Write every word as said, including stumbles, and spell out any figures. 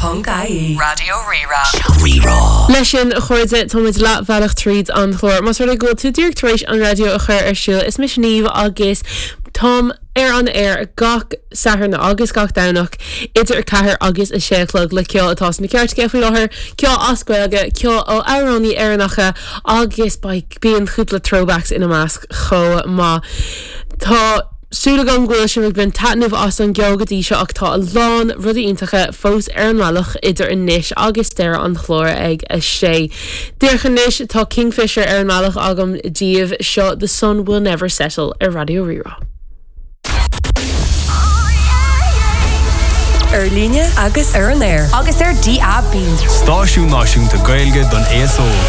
Rírá.ie Raidió Rí-Rá. Rí-Rá. Leis sin a chairde táimid leathbhealach tríd an chlár. Más rud é go bhfuil tú díreach tar éis an raidió a chur ar siúl is mise Niamh agus táim ar an air gach Satharn agus gach Domhnach idir ceathair agus a sé a chlog le ceol atá sna cairteacha faoi láthair, ceol as Gaeilge, ceol ó amhránaithe Éireannacha agus bíonn cúpla throwbacks ina measc chomh maith. Tá súil agam go bhfuil sibh ag baint taitneamh as an gceol go dtí seo ach tá a lán rudaí iontacha fós ar an mbealach idir anois agus deireadh an chláir ag a sé. Díreach anois tá Kingfisher ar an mbealach agam daoibh seo The Sun Will Never Settle ar Raidió Rí-Rá. Ar líne agus ar an aer. Agus ar DAB. Stáisiún náisiúnta Gaeilge don aos óg.